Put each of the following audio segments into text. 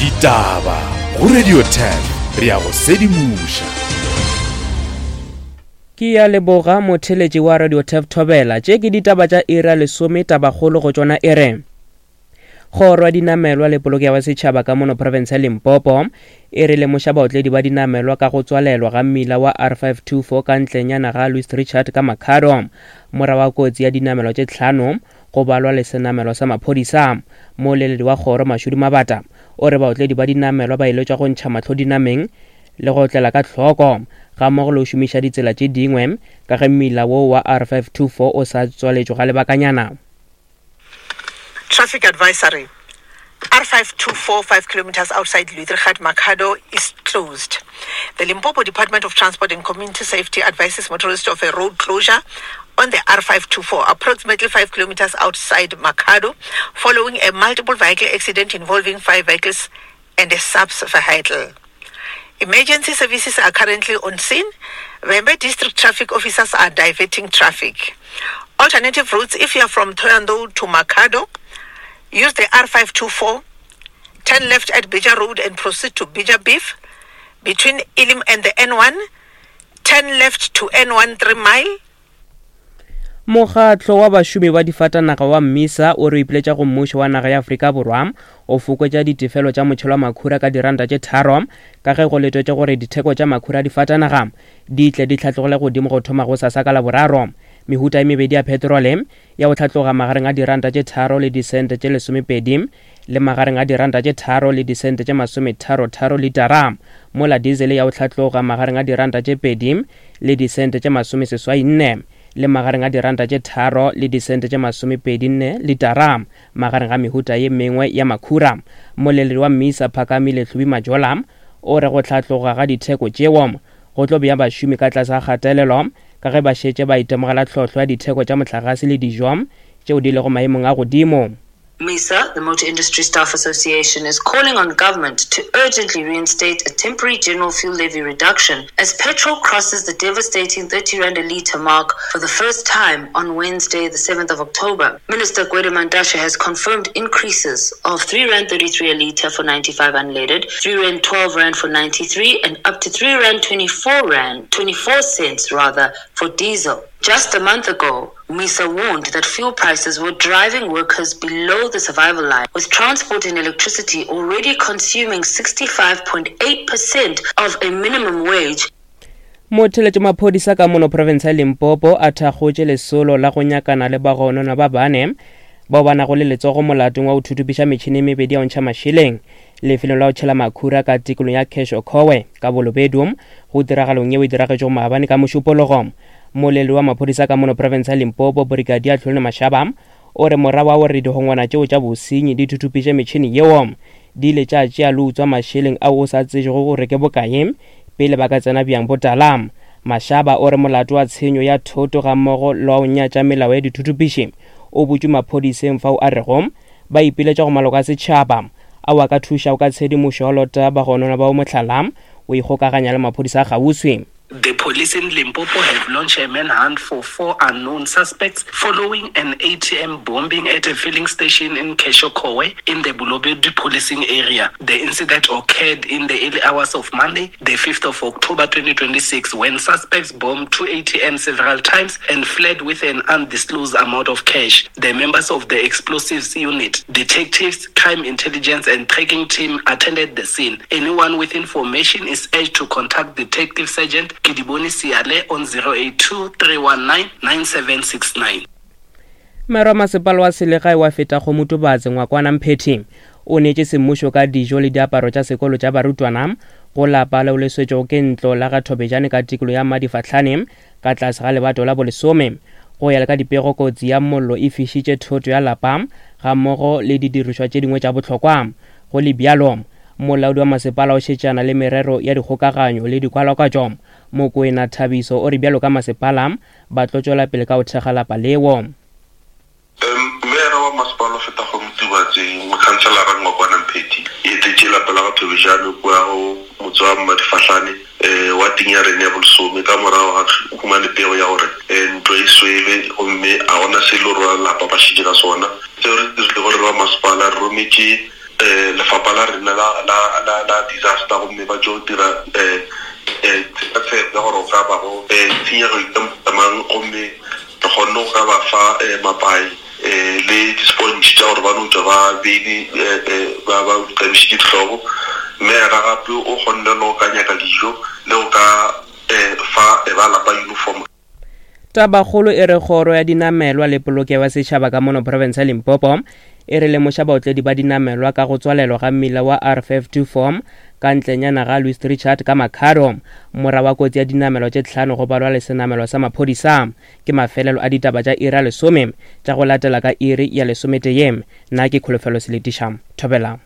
Ditaba go Radio 10 re a go sedimoša. Ke ya leboga motheletši wa Radio Tef Thobela. Tše ke ditaba tša iri ya lesome tabakgolo go tšona e re Kgoro ya dinamelwa le polokego ya setšhaba ka mono profense ya Limpopo e re lemoša baotledi ba dinamelwa ka go tswalelwa ga mmila wa R524 ka ntlenyana ga Louis Richard ka Makhado morago ga kotsi ya dinamelwa tše tlhano go balwa le senamelwa sa maphodisa. Mooleledi wa kgoro Mashudu Mabata o re baotledi ba dinamelwa ba eletšwa go ntšha mahlo dinameng le go otlela ka hloko gammogo le go šomiša ditsela tše dingwe ka ge mmila wo wa R524 o sa tswaletšwe ga lebakanyana. Traffic advisory R524 5 kilometers outside Luitrigat Makhado is closed. The Limpopo Department of Transport and Community Safety advises motorists of a road closure on the R524, approximately 5 kilometers outside Makhado, following a multiple vehicle accident involving five vehicles and a subs vehicle. Emergency services are currently on scene. Vhembe District traffic officers are diverting traffic. Alternative routes, if you are from Thohoyandou to Makhado, use the R524, turn left at Bija Road and proceed to Bija Beef. Between Elim and the N1, turn left to N1 3 mile. Mokgatlo wa bašomi ba difatanaga wa Mmisa o re o ipiletša go mmušo wa naga ya Afrika Borwa o fokotša ditefelo tša motšhelo wa makhura ka diranta tše tharo ka ge go letetšwe gore ditheko tša makhura a difatanaga di tle di hlatlogele godimo go thoma gosasa ka Laboraro. Mehuta e mebedi ya petrole ya go hlatloga magareng a diranta tše tharo le disente tše lesomepedi le magareng a diranta tše tharo le disente tše masometharo-tharo litara, mola diesel ya go hlatloga magareng a diranta tše pedi le disente tše masomeseswai nne le magareng a diranta tše tharo le disente tše masomepedi nne litara magareng ga mehuta ye mengwe ya makhura. Mmoleledi wa Mmisa Phakamile Hlubi Majola o re go hlatloga ga ditheko tšeo go tlo bea bašomi ka tlase ga kgatelelo ka ge ba šetše ba itemogela tlhohlo ya ditheko tša mohlagase le dijo tšeo di lego maemong a godimo. MISA, the Motor Industry Staff Association, is calling on government to urgently reinstate a temporary general fuel levy reduction as petrol crosses the devastating 30 rand a litre mark for the first time on Wednesday, the 7th of October. Minister Gwede Mantashe has confirmed increases of 3 rand 33 a litre for 95 unleaded, 3 rand 12 rand for 93 and up to 3 rand 24 rand 24 cents rather for diesel. Just a month ago, MISA warned that fuel prices were driving workers below the survival line, with transport and electricity already consuming 65.8% of a minimum wage. Motheletši maphodisa ka mono profense ya Limpopo a thakgotše lesolo la go nyakana le bagononwa ba bane bao ba nago le letsogo molatong wa go thuthupiša metšhini e mebedi ya go ntšha mašeleng lefelong la go tšhela makhura ka tikolong ya Keshokowe ka Bolobedu go tiragalong yeo e diragetšego maabane ka Mošupologo. Mmoleledi wa maphodisa ka mono profense ya Limpopo, Brigadier Tlholone Mashaba, o re morago ga gore dihongwana tšeo tša bosenyi di thuthupiše metšhini yeo, di ile tša tšea le utswa mašeleng ao o sa tsejego gore ke bokae pele ba ka tsena bjang botala. Mashaba o re molato wa tshenyo ya thoto gammogo le wa go nyatša melao ya dithuthupiši o butšwe maphodiseng fao a rego ba ipiletša go maloko a setšhaba ao a ka thušago ka tshedimošo ya lota bagononwa bao mohlala o ikgokaganya le maphodisa a kgauswi. The police in Limpopo have launched a manhunt for four unknown suspects following an ATM bombing at a filling station in Keshokowe in the Bolobedu policing area. The incident occurred in the early hours of Monday, the 5th of October 2026, when suspects bombed two ATMs several times and fled with an undisclosed amount of cash. The members of the explosives unit, detectives, crime intelligence and tracking team attended the scene. Anyone with information is urged to contact Detective Sergeant Kidiboni Siale on 082 319 9769. Mero wa masepala wa selegae wa feta go Motubatse Ngwakwana Mphethi o neetše semmušo ka dijo le diaparo tša sekolo tša barutwana go lapa leo le swetšwego ke ntlo la ga Thobejane ka tikolo ya Madifahlane ka tlase ga lebato la bolesome. Go ya le ka dipego, kotsi ya mollo e fišitše thoto ya lapa gammogo le didirišwa tše dingwe tša bohlokwa. Go le bjalo, molaodi wa masepala o šetšana le merero ya dikgokaganyo le dikwalakwatšo, Mokoena Thabiso o re bjalo ka masepala ba tlo tšwela pele ka go thekga lapa leo. Meyara wa masepala o fetago Motubatse, Mokhanselara Ngwakwana Mphethi, e etetše lapa la ga Thobejane kua go motse wa Mmadifahlane wateng ya rena ya bolesome ka morago ga ge o humane pego ya gore ntlo e swele gomme ga gona se e le gore ba lapa ba šetše ka sona. Seo re se dirilego re le ba masepala, re rometše. um lefapha la rena la la la la disaster gomme ba tšo dira um um tshekatsheko ya gore go ka bago um tshenyego e ka mang gomme re kgonne go ka ba fa um mapai um le di-sponge tša gore ba no tšwa ba beile ba ba tlabišitše dihlogo. Meyara gape o kgonne le go ka nyaka dijo le go ka um fa ba lapa uniform. Tabakgolo e re kgoro ya dinamelwa le polokego ya setšhaba ka mono profense ya Limpopo e re lemoša baotledi ba dinamelwa ka go tswalelwa ga mmila wa R524 ka ntlenyana ga Louis Richard ka Makhado mora wa kotsi ya dinamelwa tše tlhano go balwa le senamelwa sa maphodisa. Ke mafelelo a ditaba tša iri ya lesome tša go latela ka iri ya lesometee. Nna ke Kholofelo Seletiša. Thobela.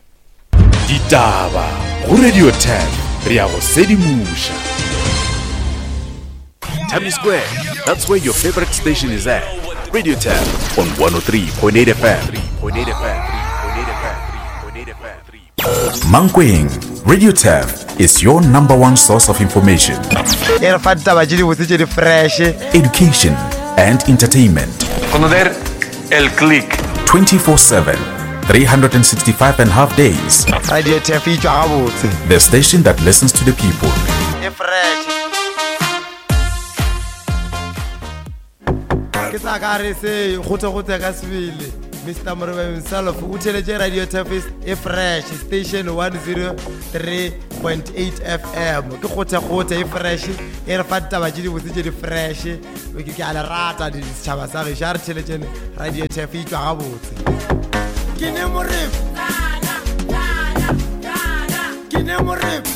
Ditaba go Radio 10 re ya go sedimoša. Tammy Square, that's where your favorite station is at. Radio 10 on 103.8 FM. Mankweng, Radio 10 is your number one source of information. E re fa ditaba tše dibotse tše di fresh. Education and entertainment. Conocer el click. 24/7, 365 and half days. Radio Tef e tšwa gabotse. The station that listens to the people. E fresh. Ke sa ka re se gote-gote ka sebele. Mr. Morebe himself o theletše Radio Tef e fresh station 103.8 FM. Ke gote-gote e fresh e re fa ditaba tše dibotse tše di fresh. Ke a le rata setšhaba sa gešo a re theletšene Radio Tef e tšwa gabotse. Ke ne morebe. Ke ne morebe.